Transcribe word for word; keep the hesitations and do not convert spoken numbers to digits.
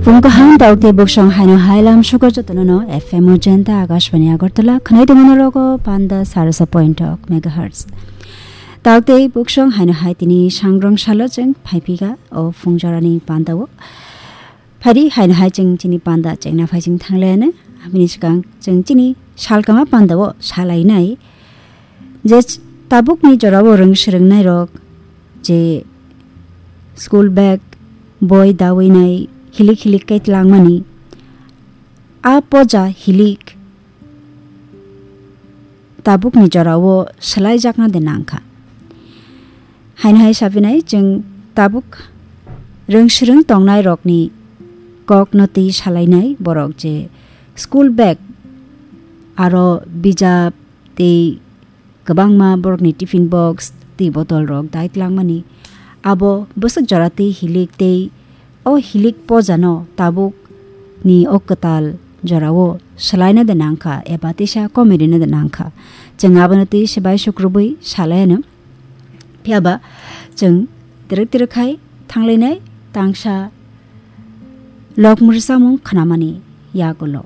Phung kaham, tauk tei buksong haino hai lam sukar jotono no F M o jenta Akashbani Agartala khwnai tongmani rogo panda sarasa point ok megahertz. Tauk tei buksong haino hai tini sangrong salo chwng phaiphika o phung jorani panda o. Phari haino hai chwng chini panda chengna phai chwng thanglaiano. Abini swkang chwng chini salkama panda o salainai. Je ch-, tabukni jorao rwng swrwngnairok je school bag, boi dawi nai hilik hilik kai tlangmani, a poja hilik tabukni jorao swlaijakna de nangkha. Haino hai sapinai chwng tabuk rwng swrwng tongnairokni kokno twi salainai borok je school bag aro bijap tei kwbangma borokni tiffin box tei botol rok dai tlangmani. Abo bwswk jora tei hilik tei o hilik pojano tabuk ni o kwtal jorao swlaina de nangkha eba teisa komorina de nangkha. Chwng abono tei se bai sukrubui salaiano. Phiyaba chwng twrwk twrwk khai thanglainai tangsa lok mwrwsamung khnamani yagulo.